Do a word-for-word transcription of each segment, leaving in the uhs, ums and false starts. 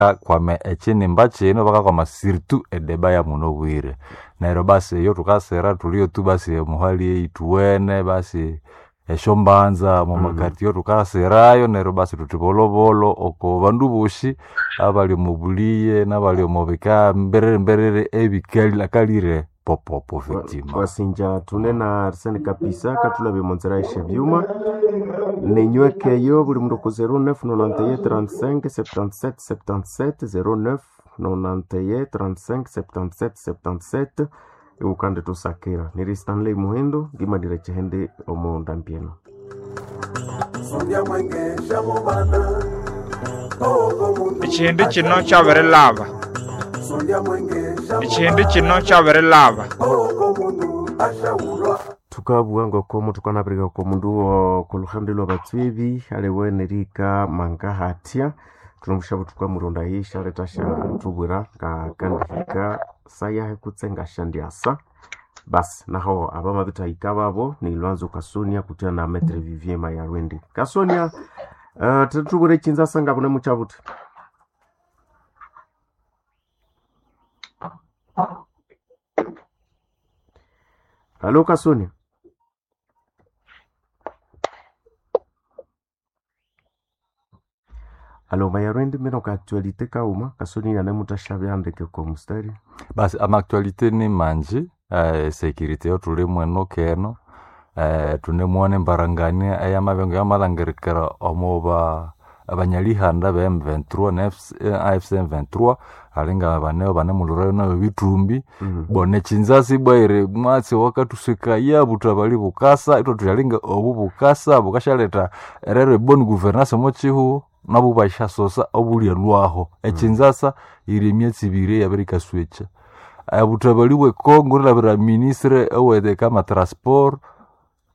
Bakakwama ekyinimba kino bakakwama surtout edeba ya muno bwire. Neryo basi eyo thukasira thulye tu basi omuhali eyithuwene basi esyombanza omwamakati thukasirayo neryo basi thuthi bolhobolho oko bandu bosi abali omo buliye nabali omo bika mbiriri mbiriri ebikali popopo effectivement. Wasinja thune na Arsene Kapisa kathulabya omo nzira esyebyuma ninywekeyo buli mundu oku zero neuf nonante et un trente-cinq septante-sept septante-sept zero neuf nonante et un trente-cinq septante-sept septante-sept iwukandithusakira. Niri Stanley Muhindo ngimalira ekyihindi omo ndambi eno. Ekihindi kino kyabirilaba. Ekihindi kino kyabirilaba. Thukabugha ngoko thukanabirika oko mundu okoluhande lwabatswebi aliwe nerihika mangahathya thunomusyabo thukamuronda isyaletha syathubwira ngakandihika sayahi kutse ngasyandyasa basi naho abamabithahika babo ni Lwanzo Kasonia kutya na Maitre Vivien Mayarwende. Kasonia uh, thithubwire ekyinza ngabune mukyabuthi. Halo Kasonia. Alo Mayarwende mino ka actualité kauma Kasonia anemuthasyabyandike oko mustari. Basi ama-actualité ni manji eh, security yo thuli mweno keno eh, thunemwana embarangania eyamabya yamalhangirikira omo abanyalihanda be M twenty-three na A F C M twenty-three alinga baneo banemulhurayo nayo bithumbi Mm. bona ekyinzasi bwaire mwatsi wakathuswikaya buthabali bukasa ithwathuthi alinga obu bukasa bukasyaletha erero ebonne gouvernance omo kihugho nabo basyasosa obulyalhwaho ekyinzasa yiri emyatsi ibiri eyabirikaswekya. Obuthabali bwe Congo erilhabira ministre owekama transport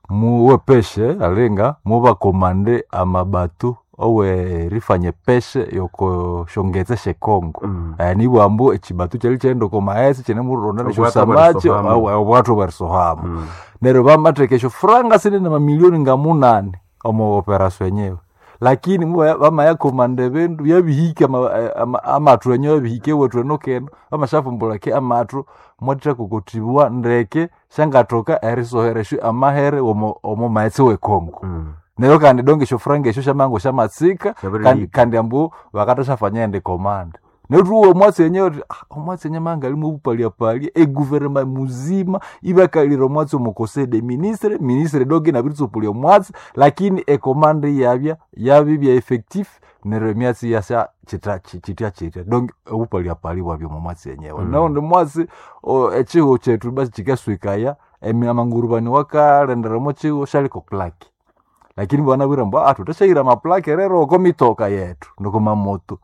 muwepeshe alinga mubakomande amabato owerifanya epeshe yoko syongetse sye Congo. Mm. Eh, nibugha ambu ekibato kyali kyaghenda oko maghetse kyinemuronda Obwato nesyosamaki bwerisohamo. obwato bwerisohamo. Mm. Neryo bamatheka esyofuranga sinene amamillioni ngamunani omo operation enyewe lakini muba- bamayakomanda ebindu byabihika ama- ama- amathu enyewe abihika ewethu eno keno bamasyafumbulha ke amathu mwathakokotibwa ndeke syangathoka erisohera esyo amahere omo omo maghetse we Congo. Mm. Neryo kandi donge esyofuranga esyo syamango syamatsika kandi, Syabirihika. kandi ambu bakathasyafanya endi command. Neryo thuwa omwatsi enyewe thuthi ah, omwatsi enyewe mangalimu obupalyapalia eguvernema muzima ibakalira omwatsi omo conseil des ministres, ministre donge inabiritsupulia omwatsi lakini ecommand iyabya yabibya effectif neryo emyatsi iyasya kyitha kyitya kyitya donge obupalyapalia bwabya omo mwatsi enyewe. Mm. Naundi mwatsi o- ekihugho kyethu basi kyikaswikaya emi- amangurubani wakalendera omo kihugho syaliko plaque lakini banabwire ambu ah thuthasyaira amaplaque rero oko mitoka yethu noko mamoto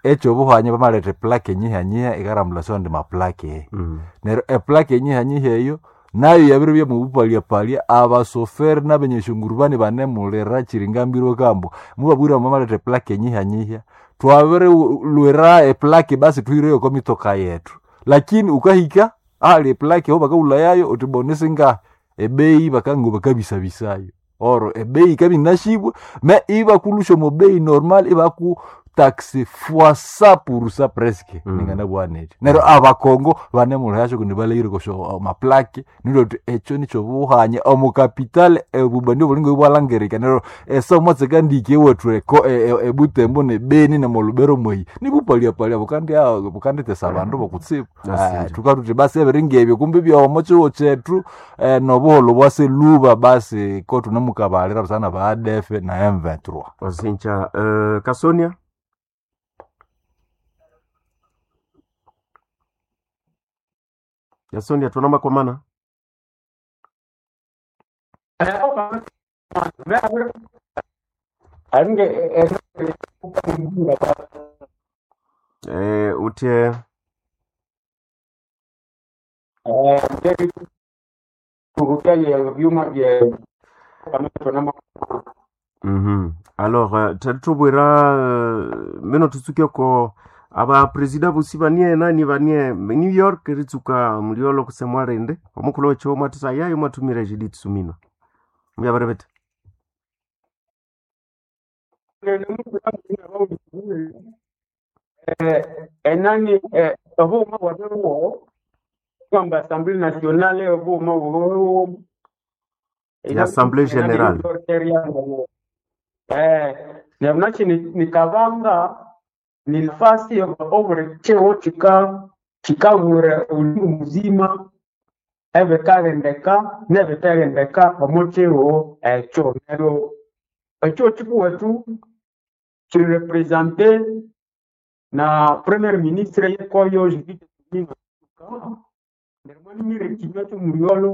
ekyobuhanya bamaletha eplaque enyihanyiha ikarambulasyo andi maplaque Mm. neryo eplaque enyihanyiha eyo nayo yabiribya mubupalyapalia abasoferi nabenyeshongurubani banemulira kyiringambirwe kambu mubabwire ambu bamaletha eplaque enyihanyiha twabirilwira eplaque basi thuhireyo oko mitoka yethu lakini ukahika ahali eplaque aho bakawulhayayo uthi boni singahi ebeyi bakango bakabisabisayo oro ebeyi ikabya inashibwe me ibakulusha omo bei normal ibaku taxe fois cent pour cent presque Mm. ninganabugha nethi neryo abakongo banemulhayasyo kundi balhahire kosyo maplaque nilyo thuthi ekyo nikyobuhanya omu capital obubandi obulinga ibwalhangirika neryo esa omwatsi kandiki ewethu eko- e- e- ebutembo nebeni nemolubero mweyi nibupalyapalia bukandya bukandithesa abandu bokutsibu. Nasinja. Thukathuthi basi ebiringa ebyo kumbi byomo kihugho kyethu eh, nobuholho bwaseluba basi ko thunemukabalira busana ba A D F na M twenty-three. Wasinja uh, Kasonia Kasonia thunamakwamana eh, uthye Mhm. Alors uh, thethubwira uh, mino thutsuke ko aba presida bosi banie nani banie New York ritsuka muliolo kusemwa rende omukhulu wekyo mwathisa yayo mwathumira Judith Suminwa myabarebete eh, enani eh, obughuma bwabiriwo kwamba Assemblée nationale obughuma bwabiriwo Ya Assemblée Générale. eh neryo ni nikabanga ni nafasi obuli kiro kika kikabura omulingo muzima ebikalendeka n'ebithalendeka omu kiro ekyo neryo ekiro kikuwethu kirepresente na premier ministre yekoyo Judith Suminwa neryo mwanimire ekinywa ky'omuryolo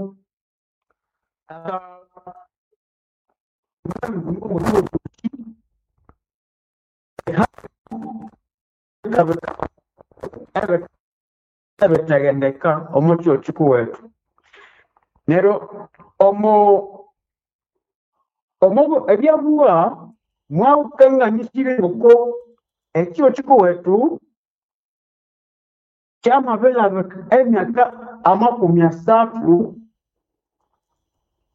ebitaghendeka omu kiro kikuwethu neryo omo omo ebyabugha mwawukanganisire ngoko ekiro kikuwethu kyamabilabika emyaka amakumi asathu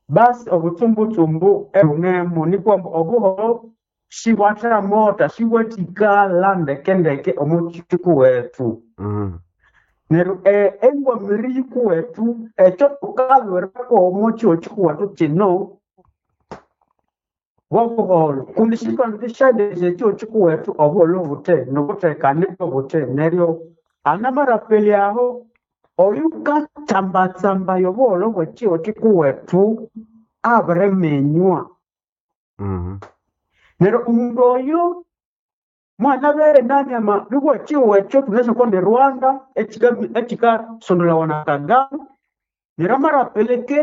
basi obutsumbutsumbu ebunemu nikwo obuhoro sibwathamotha sibwathikala ndekendeke omu kikuwethu Mm. neryo eh, engwamiri yikuwethu ekyo thukalwirako omu kiro kikuwethu kino bwobuholo kundi sikwandisyalesya ekiro kikuwethu obuholo buthe nobuthekane obuthe neryo anamarapeli aho oyukatsambatsambaya obuholo bwekiro kikuwethu abiriminywa Mm. neryo omundu oyo mwana bere nani ama nibwo ekiro ekyo tunasoko ni Rwanda ekika ekikasondolawa na Kagame neryo amarapeleke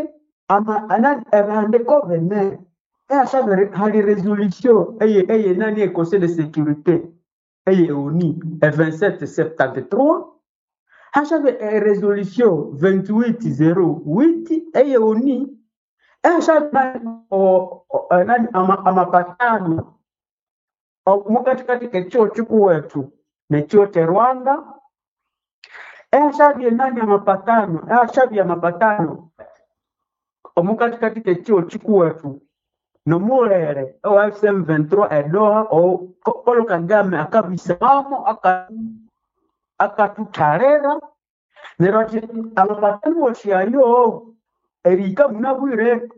ama ana ebihandiko bine eyasabire hali resolution eye eye nani e conseil de sécurité eye ONU e vingt-sept septante-trois hashabe e resolution vingt-huit zéro huit eye ONU eyashabe nani o, o, nani ama, amapatano mukatikati kekiro kikuwethu nekiro kye Rwanda eyashabye nani amapatano eyashabye amapatano omukatikati kekiro kikuwethu nomulere owa F M vingt-trois edoha o Paul Kagame akabisamo aka akatuthalera neryo athi amapatano wosi ayo erihika munabwire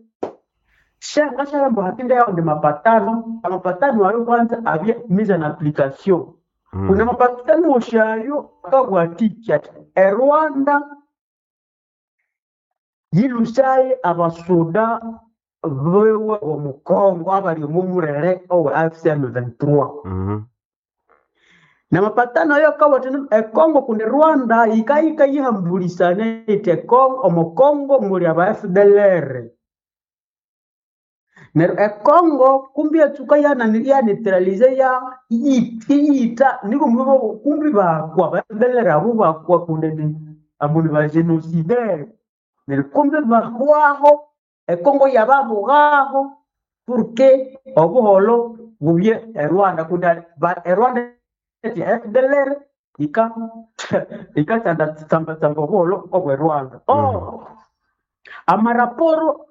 shanga shalamba hatinda yao ndi mapatano amapatano ayo kwanza abye mise en application Mm. kuna mapatano woshayo akabwatiki ati erwanda yilusaye abasuda bewe omukongo abali omumulere owe A F C M vingt-trois Mm. na mapatano ayo akabwati ekongo kundi Rwanda yikayika yihambulisana iti ekongo omukongo muli aba F D L R neryo ekongo kumbi yatsuka yana- yaneutralize ya iyita niko mwibo kumbi bakwa ba F D L R abo bakwa kundi ni abo ni ba génocidaire neryo kumbi bahwaho ekongo yababughaho porque obuholo bubye erwanda kundi ba- erwanda eti F D L R ika ikatsamba obuholo obwe Rwanda oh amaraporo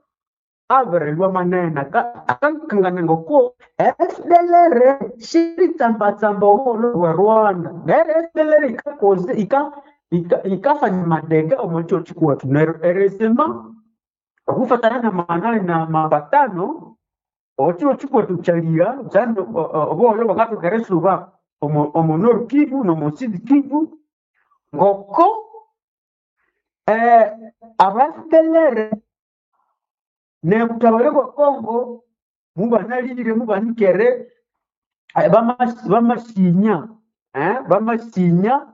abirilwa manene akakangana ngoko F D L R xiri tsambatsamba obuholo bwa Rwanda neryo F D L R ikakoze ika ika ikafanya madega omu kiro kikuwethu neryo erisima okufatana na manani na mapatano okiro kikuwethu kyalya kyandi obuholo bwangathoka erisuba omu omu Nord Kivu n'omu Sud Kivu ngoko eh, aba F D L R nebutabare bwa Congo mubanalire mubanikere eh, bama- bamasinya eh, bamasinya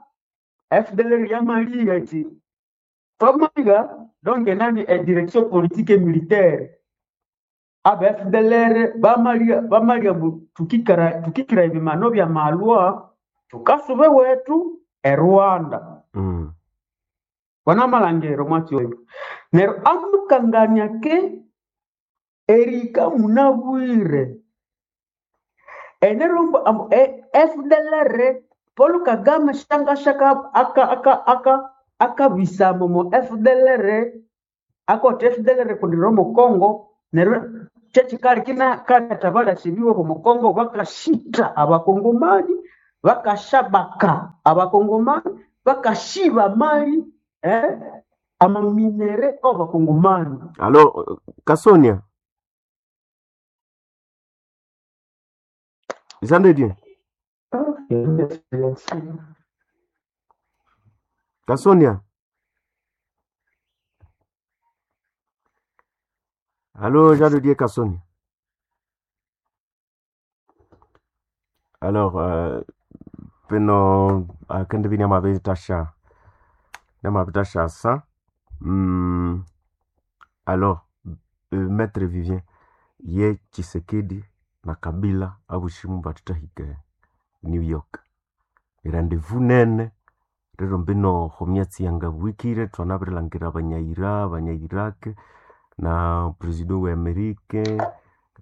F D L R yamaliga iti twamaliga donc nani e direction politique et militaire aba F D L R bamaliga bamaliga mbu tukikara tukikira ebimano bya malwa tukasube wetu e Rwanda Mm. wanamalangero mwatsi oyo neryo amukangania ke erika munabwire enerombo ambu e- F D L R Paul Kagame shangashaka aka aka aka akabisamo mu F D L R akoti F D L R kundi romo Congo neryo kyekikali kina katabalasibiwe omu Congo bakashita abakongomani Bakashabaka abakongomani bakashiba mali eh, amaminere abakongomani. Alors euh, Kasonia Jean de Dieu Kasonia Allô Jean de Dieu Kasonia. Alors euh, peno akende bini amabitasha namabitasha sa mm, alors euh, maître Vivien ye Tshisekedi na Kabila abushimu batutahike New York rendezvous nene rero mbino homyatsi yanga bwikire twanabirilhangira abanyaira abanyairaq na president we Amerika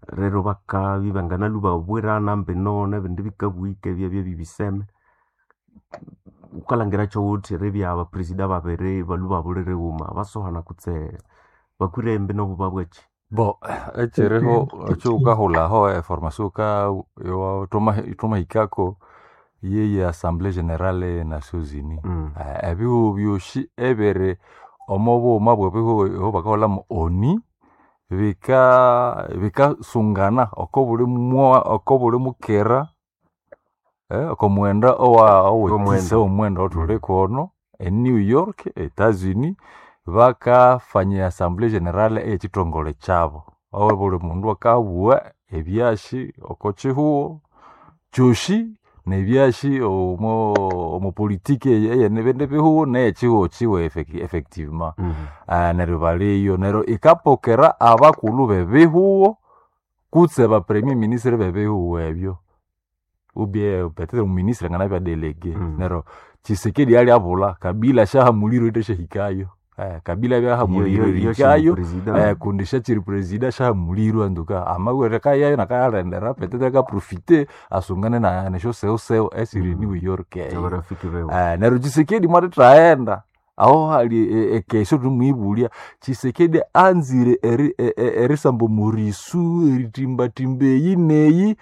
rero bakabi banganalu babwirana mbino nebindi bikabwika ebyabya bibiseme ukalangira kyowuthi ribya abapresida babiri balu babulire ghuma basohana kutse bakwire mbino buba bweki. Bo, ekiriho ekyukahulhaho eformation uka yowa- thuma- thumahikako yeye Assemblée Générale e Nations Unies. Mm. Eh, ebihugu byosi ebiri omo bughuma bw'ebihugu eho bakahulhamu ONU bika bikasungana oko buli mwa oko buli mukera eh, oko mwenda owa Omwenda. owetisa omwenda othuli kono e New York, Etats-Unis bakafanya Assemblée Générale ey'ekithongole kyabo. Aho buli mundu akabugha ebyashi oko kihugho kyosi n'ebyashi omo omo politiki ey'ebindi bihugho n'ey'ekihugho kiwe effec- effectivement. Mm. Ah, neryo baliyo neryo ikapokera abakulhu b'ebihugho kutse ba premier ministre b'ebihugho ebyo ubye peut-être omuministre anganabya delege. Mm. Neryo Tshisekedi alyabulha Kabila syahamulirwe ithashahikayo eh, Kabila abyahamulirwe erihikayo eh, kundi syakyiri presida syahamulirwe antuka amabwere kayayo nakayalendera peut-être akaprofite asungane na nesyosewosewo esiri Mm. New York eyo. Abarafiki bewe Eh, neryo Tshisekedi mwatithaghenda aho hali e- ekesho thumwibulya Tshisekedi anzire eri- e- e- erisamba omurisu eritimbatimba eyi neyi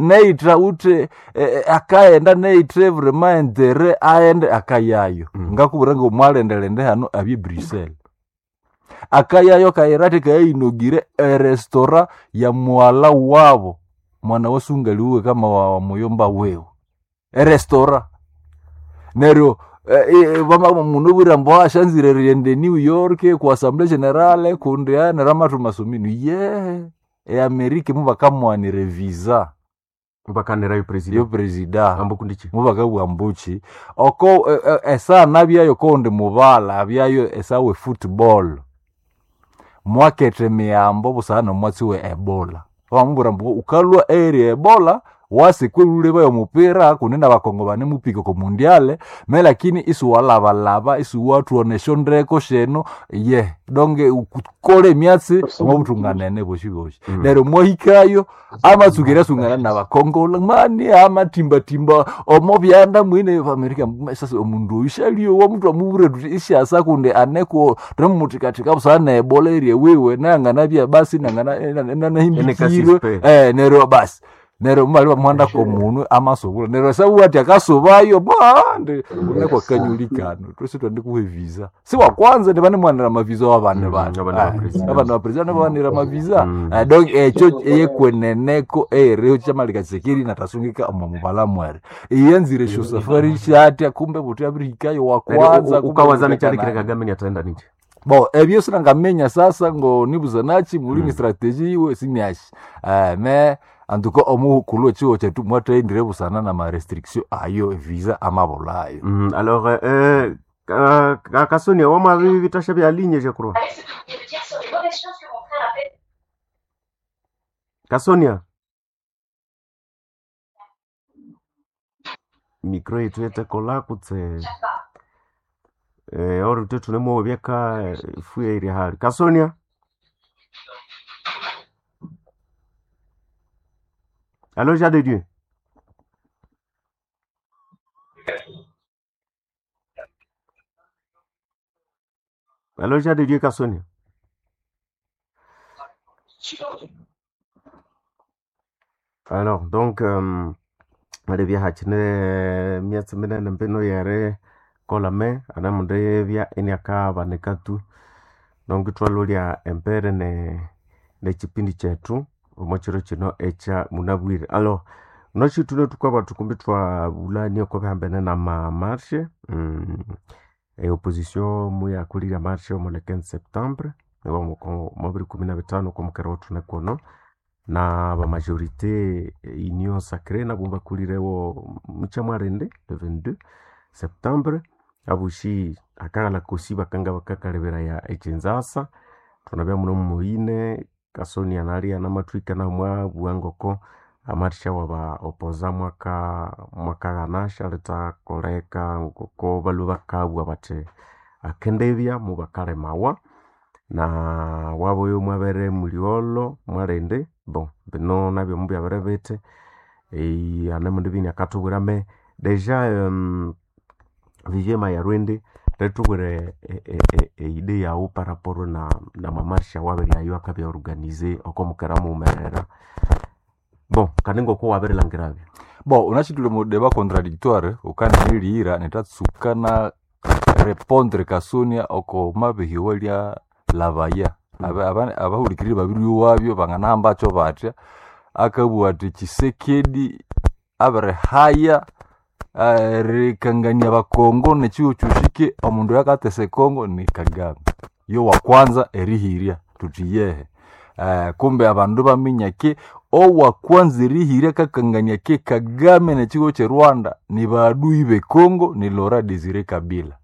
neitra uthe e- e- akaghenda neithe vraiment entere aghende akayayo. Mm. Ngakubwira ngomwalendelende hano abye Bruxelles akayayo kayira athi kayayinogire erestaurant ya mwala wabo mwana wasungaliwe kama wa, wa muyomba wewe erestaurant neryo eh, eh, vama mundu bwira mbu ashanzire riende New York ku Assemblée Générale kundi neryo amathu masomino ye eAmerica mubakamwanira visa bakanirayo yo president presida ambu kundichi mubakabugha mbuchi oko eh, eh, esaa nabyayo koundi mubala abyayo esawa efootball mwakethe emiyambo busana nomwatsi we ebola bamubwira mbu ukalwa eri ebola wasikwelule omupira kundi nabakongo banemupika oko mundiale me lakini isiwalabalaba isiwathuonesha ndeko sheno ye donge ukole emyatsi omobuthunganene boshi boshi. Mm. Neryo mwahikayo amatsukira asungana nabakongola mani amatimbatimba omo byanda mwine Amerika sasa omundu oyu shaliowa mutu amubwira tuti isyasa kundi aneko thwemuthikathika busana nebola erye wiwe nangana basi nangana nanahimbikirwe Enekasispe. eh neryo basi neryo mubali bamuhandako omunwe amasobula neryo sabuwa ati akasubayo bwandi uneko kanyulikano twese twandikuha evisa si wa kwanza ndivanemwanira amavisa wabane Mm, bana abana ba president. abana ba president bawanira amavisa Mm. Eh, donc ekyo eyekweneneko eyeriho kyamalika Tshisekedi natasungika omo mubala mwere iyanzire esyo safari syatya kumbe buti abirihikayo wa kwanza kumbe ukawazana buti kyalekire akanani. Kagame ni ataenda nje Bo ebyo sinangamenya sasa ngo nibuzanachi mulimi Mm. strategy iwe sinyashi eh, me antuko omukulhu echiwo chetu mwathendire busana na ma restriction ayo visa amabulayo. Mm, alors euh, ka- ka- Kasonia wamabi bitasha bya ligne je crois. Kasonia micro yetu yetekola kutse eh, ori te tunemo byeka fuye iri hali Kasonia Allô Jean de Dieu. Allô Jean de Dieu Kasonia. Alors donc euh, Alibya hakine myatsi minene mbino yeri kolame anamundu ibya iniakabanika tu. Nongo ithwalolya embere ne nekipindi kyethu omo kiro kino ekya munabwire. Alors wunasi thulwe thukabathu kumbi ithwabulania oko bihambene nama marshe mm, e opposition muyakolire emarshe omo le quinze septembre omo bibiri ikumi na bithanu oko mukera owathune kuno na bamajorité union sacrée nabo bakolirewo mukyamwalindi le vingt-deux septembre abosi akaghalha kosi bakanga bakakaleberaya ekyinzasa thunabya mune muyine Kasonia nalya namathwika nahu mwabugha ngoko amarsha waba opoza mwaka mwakaghana syalithakoleka ngoko balhwe bakabugha bathi akendibya mubakalemawa na wabuyu mwabere mulyolho mwalindi bon bino nabyo mubyabere bithi hanemundu ibya inakathubwira me deja um, Vivie Mayarwindi rithubwire eide yaghu paraporo na namamarsha awabiryayo akabya organize oko mukera mughumerera bon kandi ngoko wabirilhangirabyo. Bon unachitule mu débat contradictoire ukanilihira nitatsuka na répondre Kasonia oko mabihiwa lya labaya mm. Abahulikiriri babiri wabyo banganahambakyo batya akabugha ati Tshisekedi abirihaya erikangania bakongo nekiwo kyoshike omundu oyukatesa ekongo ni Kagame yo wakwanza erihirya tuthi yehe. Uh, kumbe abandu baminya ke owakwanza erihirya kakangania ke Kagame nekigo kye Rwanda ni baadui bekongo ni Laurent Desire Kabila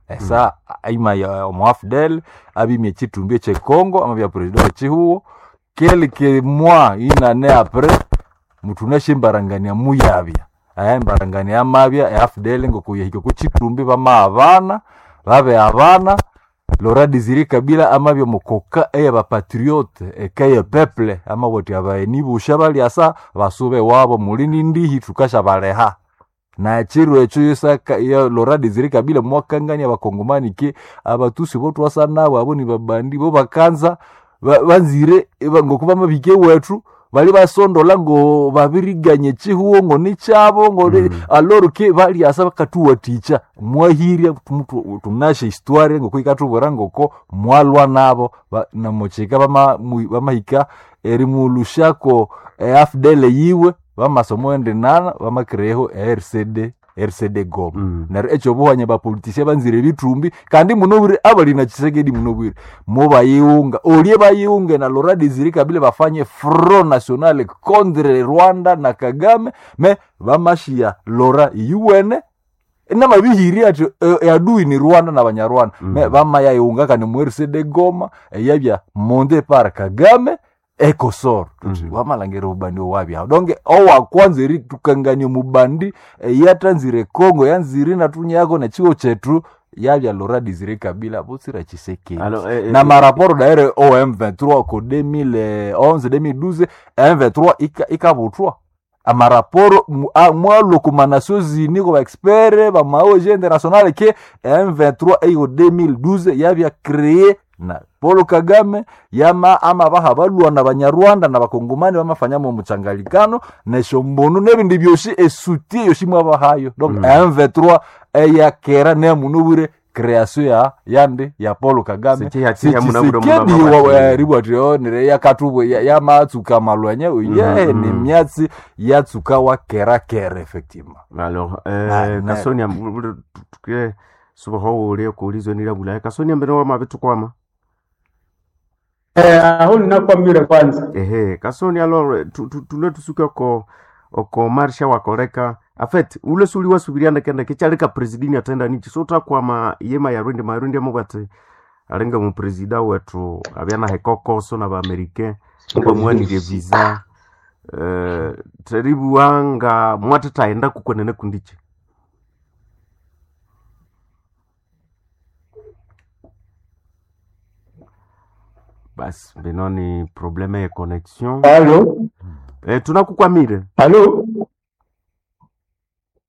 esa mm. Aima ya omuafdel abimya ekitumbi ekye Congo amabya president wekihugo quelques mois une année après mutunashe embarangania muyabya aya embarangania amabya e A F D L ngokuyahika kukitumbi bama abana babe abana Laurent Desire Kabila amabya mukoka eyabapatriote eka ye peuple amabwati abaeni busha balyasa basube wabo mulini ndihi tukasha baleha na chiro ekyo yosaka ya Laurent Desire Kabila mwakangania abakongomani ke abatusi bo twasa nabo abo ni babandi bo bakanza ba, banzire ngokuba mabike wethu bali basondola ngo babiriganye chihuo ngo nichabo ngo mm. Aloro ke baliasa bakatuwaticha mwahirya tunashe histoire ngo kuikatubura ngoko mwalwa nabo ba, namocheka bama bamahika erimulushako e A F D L yiwe bamasomo ende nana bamakreho R C D R C D Goma mm. Neryo ekyo buhanya bapolitisia banzire bitumbi kandi munobwire abali na Tshisekedi munobwire mubayiunga olye bayiunge na Laurent Desire Kabila bafanye Front National contre Rwanda na Kagame me bamashia Laurent yuwene namabihiri ati e, adui ni Rwanda na Banyarwanda mm. Me bamayayiunga kandi mu R C D Goma eyabya monde par Kagame ekosoro mm -hmm. Wamalangera obubandi owabyaho donke owakwanza eritukangania omubandi eyatanzire Congo yanzire natunyako nechiwo chetu yabya Laurent Desire Kabila butsira Tshisekedi eh, na eh, maraporo daire o M vingt-trois ko deux mille onze deux mille douze M vingt-trois ikabuthwa amaraporo mwalwa ku Nations Unies ku baexpert ba ma O N G international ke M vingt-trois eyo deux mille douze yabya créé na Paul Kagame yama ama baha balwa na Banyarwanda na Bakongomani bamafanyamo omuchangalikano neshombonu nebindi byosi esutie yosi mwabahayo donc mm. M vingt-trois eyakera nemunubwire création ya yande ya Paul Kagame Tshisekedi ribwatio nire yakatubwe yamatsuka malwanya ye mm -hmm. Ni myatsi yatsuka wa kera kera effectivement alors euh, Kasonia tuke subaho ule kuulizwe nila bulaya Kasonia mbere wa mabitu kwama Eh, aho ninakwamire kwanza. Ehe, Kasoni alors tulwe tusuke oko oko marsha wakoleka. En fait, ule suli wasubiriana kenda kechaleka presidini atenda nichi so takwama yema ya rwindi marundi amubate alenga mu presida wetu abyana hekokoso na ba americain bamwanire visa eh teribuanga mwatataenda kukwenene kundichi basi bino ni probleme ya connexion. Allo? Eh, tunakukwamire. Allo?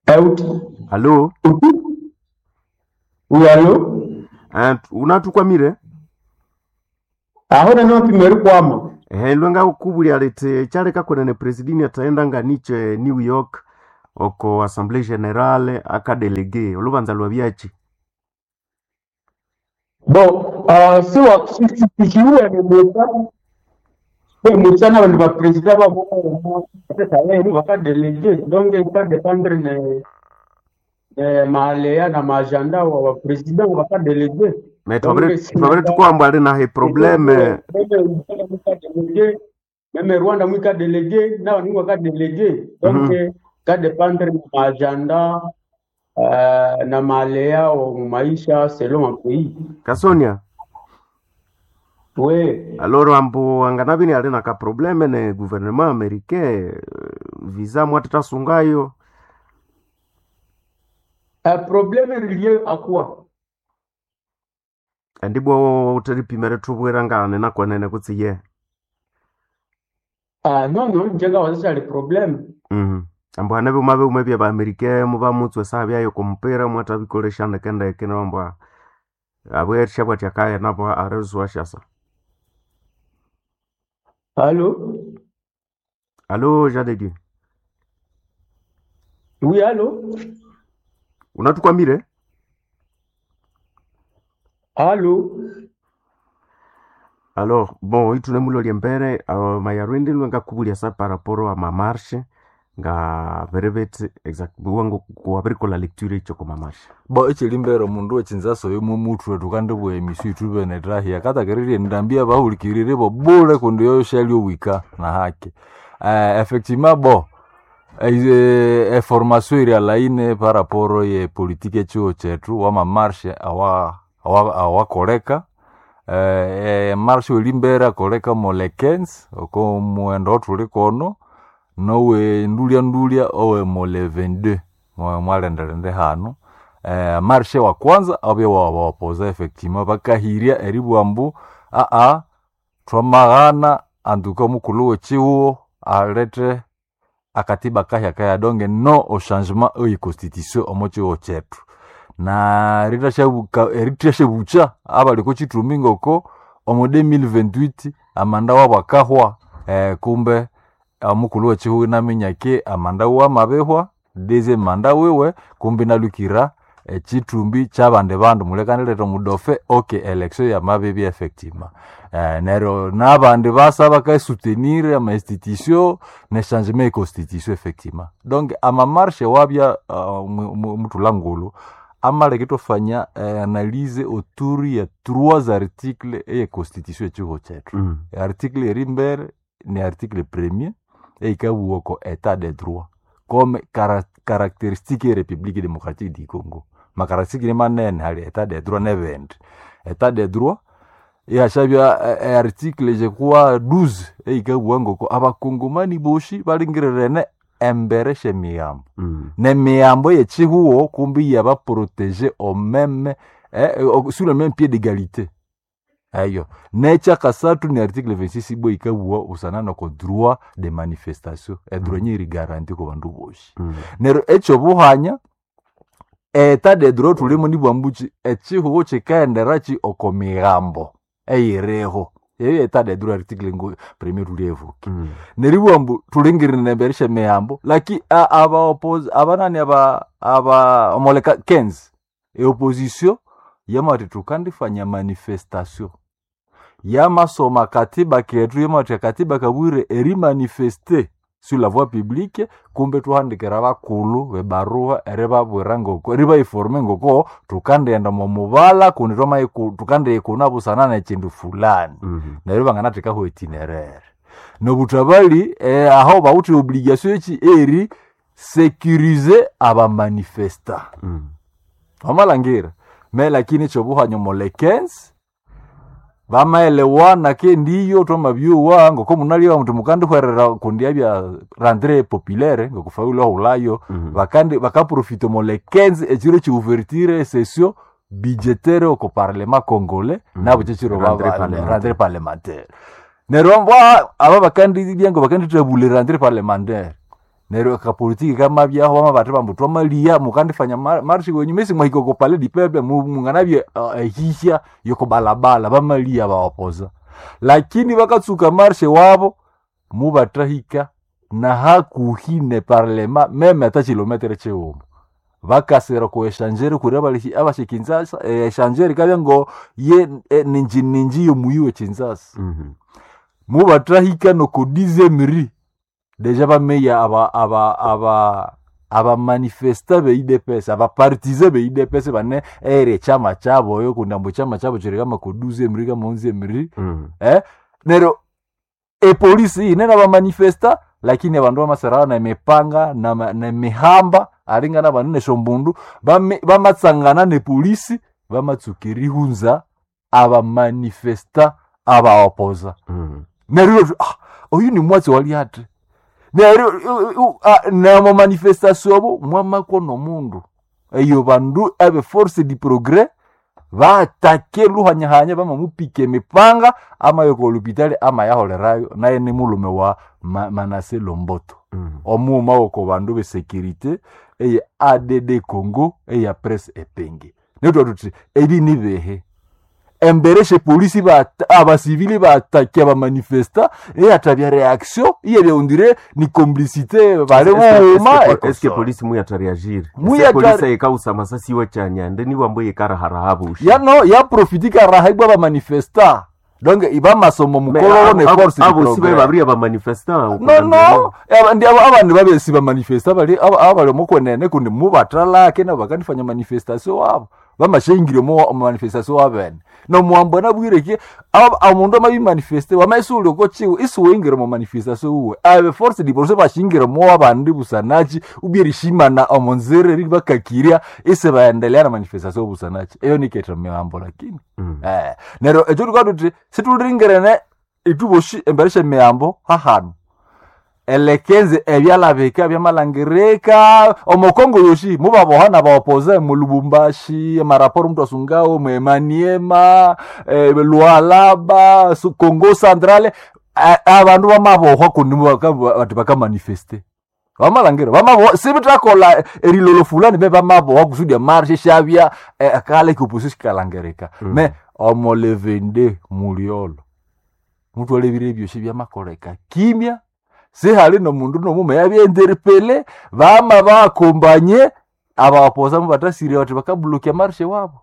Eh, Allo? Oui, allo? Eh, unatukwamire? Aho nani wapimeri kwama. Eh, lwenga ukubuli alete chaleka kwenene presidini ataenda nga niche New York oko assemblée générale akadelege olubanza lwabyachi Bon, uh, siwa sikiwe ni musa we musa na bandu ba président babo lero bakadelege donc ikadépendre ne ne maaleya na maagenda wa ba président bakadelege me donc twabere twabere sinaba tukwamba ali nahe probleme même même Rwanda mwika délégué na bandu bakadelege donc mm -hmm. kadépendre na maagenda uh, na maaleya wa maisha selon un pays Kasonia we aloro ambu anganabini ali na kaprobleme ne gouvernement américain eh, visa mwatatasungayo un problème relié à quoi? andibwa uteripimere tubwira ngane nakwenene kutsi ye Ah, non, non, njenga wazisha le problème. mm ambu hane byuma byuma bya baamerika muba mutswe saha byayo kumupira mwatabikolesha ndekendeke nambwa abwerisha bwati akaya nabo arezwa shasa Allô? Alo Jean de Dieu Oui, allô? unatukwamire Allô? Alors bon itune mulo lyembere uh, mayarwindi lwengakubulia sa par rapport a mamarshe nga verebete exact wangu kuwabirikola lecture icho kwa mamarshe Bo ekiri mbere omundu w'ekinzaso yomo mutwe tukandibwa emisu itubene tahia katakererie ndambia bahulikirire bo bule kundi yoshali owika na haki eh, effectivement bo eh, eformation iri alaine par rapport ye politique echiwo chetu wamamarshe awa awa- awakoleka eh, emarshe eri mbere akoleka mole quinze oko muwendo otuli kono nowe ndulya ndulya owe mole vingt-deux mwe mwalendelende hanu eh, marshe wa kwanza abye wabawapoza effectivement bakahirya eribwa mbu aa twamaghana anduka omukulhu w'ekihuho alete akatiba kahya kaya donge no au changement oyi constitution omo kihuho kyethu na eritashabuka eritashabucha abali ko kithumbi ngoko omu elfu mbili makumi abiri na munane amanda wabo akahwa eh, kumbe omukulhu w'ekihuho inaminya ki amanda wiwe amabihwa deuxième manda wiwe kumbe inalukira ekithumbi kyabandi bandu mulekanileta omudofe ok election yamabibya effectivement eh, neryo nabandi basa bakasutenir ama institution ne changement e constitution effectivement donc amamarshe wabya uh, muthula ngulu amaleke twafanya eh, analyse autour ya trois articles eye constitution ekihuho kyethu mm. article eri mbere ni article premier eikabugha ko état de droit comme cara caractéristique ye république démocratique du Congo macaractéristique ni manene hali état de droit nebindi état de droit ihashabya eh, eh, article je crois douze eikabugha ngoko abakongomani boshi balingirirene embere shemiyambo Mm. nemiyambo yechihuo kumbi yabaprotege au même eh, au- sur le même pied d'égalité eyo nekyakasathu ni article vingt-six ibwa ikabugha busana noko droit de manifestation edroit Mm. nyeri garanti ku bandu boshi Mm. neryo ekyobuhanya eta de droit tulimo nibwambuki ekihugo kikaenderaki oko migambo eyiriho eyo eta de droit article ngo premier tulievuki Mm. neribwa mbu tulingirine embere syemihambo laki a- aba oppose abanani aba aba omoleka quinze eopposition yamati tukandifanya manifestation yamasoma katiba ketu yamati akatiba kabwire erimanifeste sur la voie publique kumbe tuhandikira bakulu bebaruha eribabwira ngoko eribaiforme ngoko tukandienda mumubala kundi twamaiku- tukandiikuna busana nekindu fulani Mm. neryo banganathekaho itinerere nobutabali eh, aho bawithe obligation eki eri sécuriser abamanifesta Mm. wamalhangira me lakini ekyobuhanya mole quinze bamaelewana ke ndiyo twamabyuwa ngoko munalya muti mukandihwerera kundi abya rentrée populaire ngokufaulu ahulayo Mm. bakandi bakaprofita mole quinze ekiro kyouverture session budgétaire oko parlement congolais Mm. nabo kyekiro Rentrée parlementaire. rentrée parlementaire neryo mbwa aba bakandibya ngo bakandithabula rentrée parlementaire neryo akapolitiki kamabyaho bama bathi bambu twamaliya mukandifanya mar- marshi wenyu mesi mwahika oko palais du peuple mu- munganabya uh, ehihya yokobalabala bamaliya bawapoza lakini bakatsuka marshe wabo mubathahika na hakuhi ne parlema meme ata kilometere chiwuma bakasira ku echanjeri kuri abali abashe Kinshasa echanjeri kabya ngo ye eh, ninji ninji yomuyi we Kinshasa Mhm. mubatrahika noko dizemri deja bameya aba aba aba abamanifesta be U D P S abapartize be U D P S bane ere chama chabo yo kundambo chama chabo chirikama ko duzemri kama onzemri Mhm. eh nero epolisi inene bamanifesta lakini abandu bamasarara na emipanga na, ma- na emihamba aringana banene shombundu bame- bamatsangana nepolisi bamatsuka erihunza abamanifesta abaopoza Mhm. neryo ah, oyu ni mwatsi wali ati neryo u- u- ah, namo manifestation abo mwamakwo nomundu eyo bandu abe force du progrès batake luhanyahanya bamamupika emipanga amayoko olupitali amayaholerayo naye ni mulume wa Ma- Manase Lomboto Mhm. omuuma woko bandu besekirite eye A D D Congo eya presse epenge netwa tuti ebi ni behe embere polisi bata- abasivili batake abamanifesta eyatabya reaction iyebya ni complicité bali buuma Eske polisi muyatareagir Muyatare- polisi ayikawusa amasasi iwe chanyande niwambo yikaraharaha bushi ya no yaprofitika raha ibwa bamanifesta donc ibamasomo mukololo ne force du abosi progrès. babiri abamanifesta no no aba- ndi aba- abandu babesi bamanifesta bali aba- abali omukwenene kundi mubatalake nabo bakanifanya manifestation wabo bamashengire omu manifestation wabene nomuhambo nabwireke omundu amabimanifeste wamaisuli okochiwe isiwengire mu manifestation uwe abe force di progrès bashingire mo abandi busanachi ubyerishimana omunzira eri bakakiria ise baendelea na manifestation busanachi eyo niketha mihambo lakini eh neryo ekyo tukatuti situlingerene ituboshi embere syemihambo hahanu elekenze ebyalabika byamalangirika omukongo yoshi mubaboha nabaopoze mu lubumbashi emaraporo mndu asungawo mwemaniema eh, lualaba su- congo centrale A- abandu bamabohwa kundi mubaka- bati bakamanifeste bamalangira bamabohwa sibitakola erilolo fulani be bamabohwa kusudi emarshe syabya eh, kale kioposi sikalangirika Mm. me omolevende muliolo mutwalebire ebyosi byamakoleka kimya sihali nomundu nomume yabyenderepele bama bakombanye abapoza mubatasire bati bakablokia marshe wabo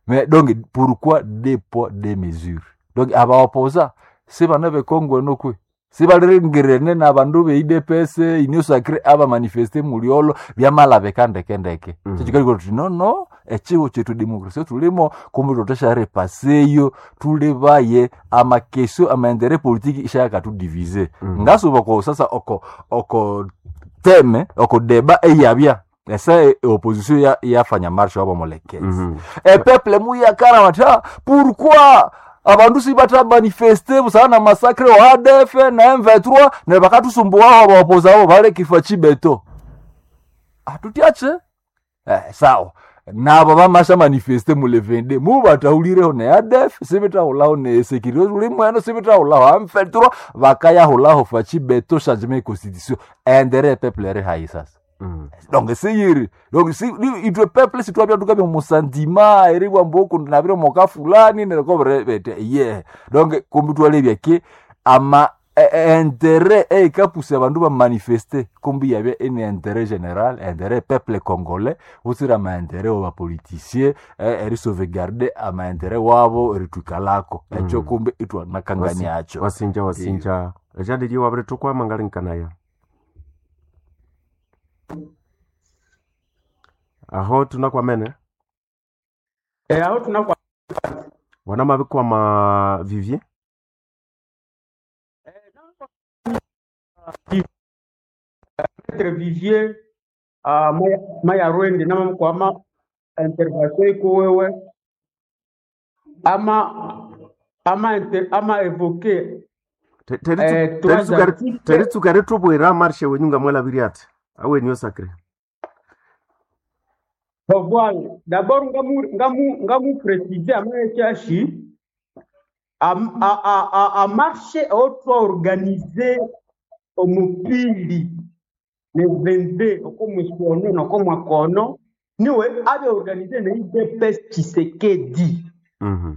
mais donc pourquoi deux poids deux mesures donc abaopoza sibana bekongwe nokwe sibalirengirene nabandu be U D P S union sacrée abamanifeste muliolo byamalabeka ndekendeke Mm. mm. tuti no no echiwo chetu demokrasia tulimo kumbe totesharepaseyo tulibaye amakesio amaendere politiki ishayakatudivize Mm. ngasuba ko sasa oko oko teme oko deba eyabya esa e- opposition ya yafanya marche wabo molekezi Mhm. e peuple muyakana bati "Ah, pourquoi abandu sibata manifeste busana na massacre wa A D F na M vingt-trois ne bakatusumbuwaho abaopoza abo bale kifo chibeto atutiache eh, sawa nabo bamasha manifeste mule vingt-deux mubataulireho ne A D F sibitahulaho ne sécurité uli mweno sibitahulaho M vingt-trois bakayahulaho fachibeto changement constitution endere peuple eri hayi sasa Mhm. donc siyiri donc si ni- itwe peuple sitwabya tukabya musandima eri bwambo nabire moka fulani nereko bete ye donc kumbi twalebya ke ama e- e- intérêt eikapusa abandu bamanifeste kumbi yabya eni intérêt général intérêt peuple congolais utsira amaintérêt wa bapoliticien eri sauvegarder amaintérêt wabo eritwikalako ekyo Mm. kumbi itwanakanganiacho wasinja wasinja ejadili wabire tukwama ngalinkanaya aho tunakwamene Eh, aho tunakwa wanamabikwama vivier Maître Vivier ah, maya maya rwende namamukwama intervention ikuwewe ama ama inter, ama evoke Te- teri- eh, trois teritsuka- articles teritsuka ritubwira marshe wenyu ngamwelabiri ati awenyu sacre Bon, voilà. D'abord, ngamu ngamu ngamu préciser amayechashi a, a, a, a, a marche otwa organisé omupili le vingt-deux okomwisono nokomwakono niwe abe organisé na U D P S Tshisekedi Mhm,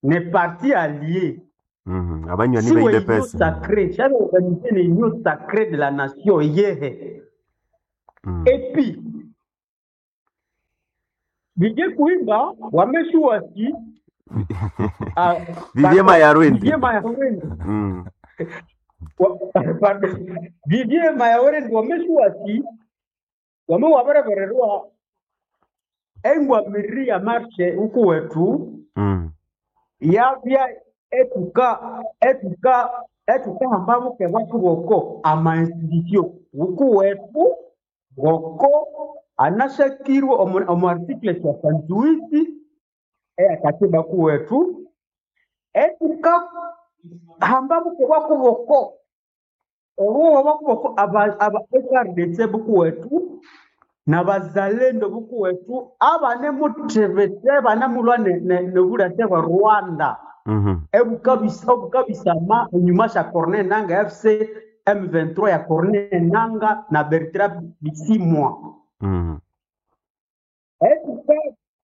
ne parti allié Mhm. Abanywani Siwe be union U D P S. sacrée shabe organiser ne union sacrée de la nation yehe Mm. epi Vijie kuimba wameshuwasi ah, Vivie pardon Mayarwendi. Vivie Mayawendi Mm. Wa- pardon Vivie Mayawendi wameshuwasi wame waberebererwa engwamiriri ya marshe huku wetu Mm. yabya etuka etuka etukahamba buke bwathu boko ama institution huku wetu ngoko anashakirwe omu omu article soixante-huit eyakatiba kuwetu etuka hamba buke bwako boko obuwa bwako boko aba aba F R D C bukuwetu nabazalendo bukuwetu abane mutebete banamulwa nebulate bwa Rwanda Mhm. ebukabisa obukabisama enyuma sha Corneille Nangaa F C M vingt-trois ya Corneille Nangaa na Bertrand Bisimwa Mhm. etuka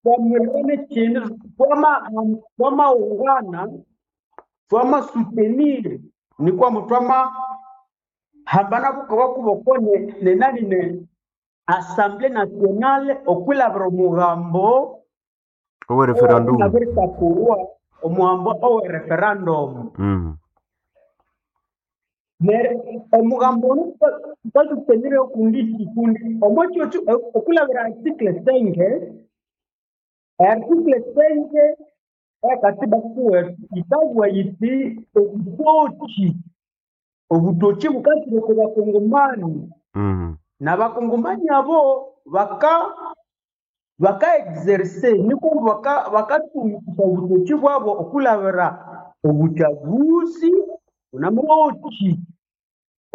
twamirane kindu twama twamaungana twama soutenir ni kwamba twama hambana bukawa kuboko ne, ne nani ne Assemblée nationale okwilabira omugambo Owe referendum. owabiritakurwa omugambo owe referendum Mm. Nere omugambo ono twasutenire okundi kikundi omwekyo okulabira article cinq article cinq ekatiba kuwetu ikabwa yiti obutoki obutoki bukasire ku bakongomani Mm. n'abakongomani abo baka baka exercer niko baka bakatumikisa obutoki bwabo okulabira obuchaguzi unamuoki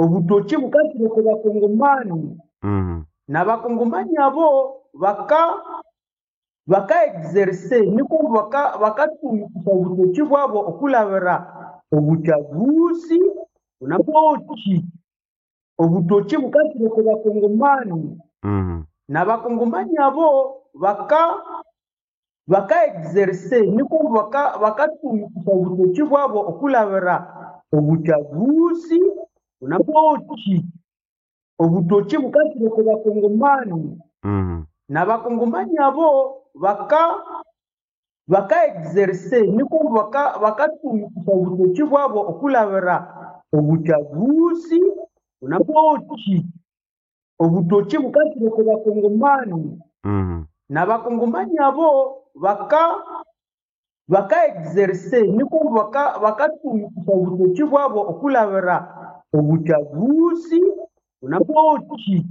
obutoki bukasire ku bakongomani Mm. n'abakongomani abo baka baka exercer niko baka bakatumikisa obutoki bwabo okulabira obuchaguzi unamuoki obutoki bukasire ku bakongomani Mm. n'abakongomani abo baka baka exercer niko baka bakatumikisa obutoki bwabo okulabira obuchaguzi unamuoki obutoki bukasire ku bakongomani Mm. n'abakongomani abo baka baka exercer niko baka bakatumikisa obutoki bwabo okulabira obuchaguzi unamuoki obutoki bukasire ku bakongomani Mm. n'abakongomani abo baka baka exercer niko baka bakatumikisa obutoki bwabo okulabira obuchaguzi unamuoki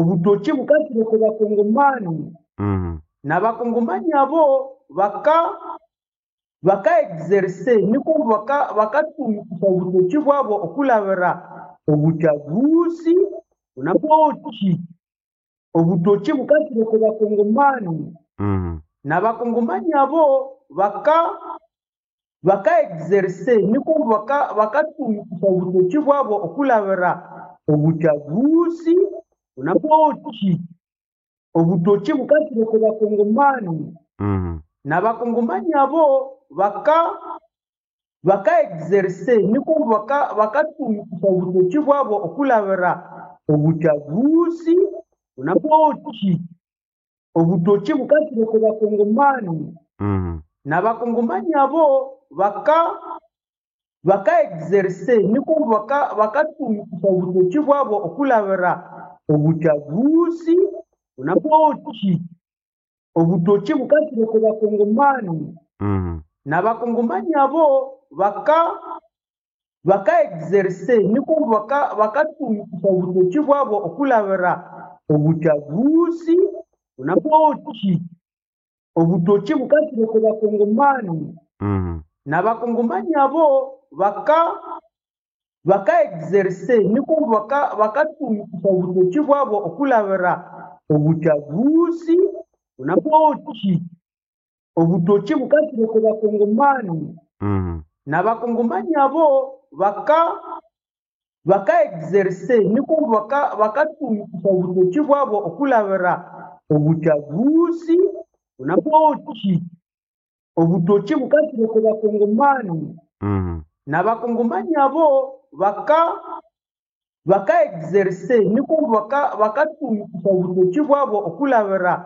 obutoki bukasire ku bakongomani Mm. n'abakongomani abo baka baka exercer niko baka bakatumikisa obutoki bwabo okulabira obuchaguzi unamuoki obutoki bukasire ku bakongomani Mm. n'abakongomani abo baka baka exercer niko baka bakatumikisa obutoki bwabo okulabira obuchaguzi unamuoki obutoki bukasire ku bakongomani Mm. n'abakongomani abo baka baka exercer niko baka bakatumikisa obutoki bwabo okulabira obuchaguzi unamuoki obutoki bukasire ku bakongomani Mm. n'abakongomani abo baka baka exercer niko baka bakatumikisa obutoki bwabo okulabira obuchaguzi unamuoki obutoki bukasire ku bakongomani Mm. n'abakongomani abo baka baka exercer niko baka bakatumikisa obutoki bwabo okulabira obuchaguzi unamuoki obutoki bukasire ku bakongomani Mm. n'abakongomani abo baka baka exercer niko baka bakatumikisa obutoki bwabo okulabira obuchaguzi unamuoki obutoki bukasire ku bakongomani Mm. n'abakongomani abo baka baka exercer niko baka bakatumikisa obutoki bwabo okulabira obuchaguzi unamuoki obutoki bukasire ku bakongomani Mm. N'abakongomani abo baka baka exercer niko baka bakatumikisha obutoki bwabo okulabira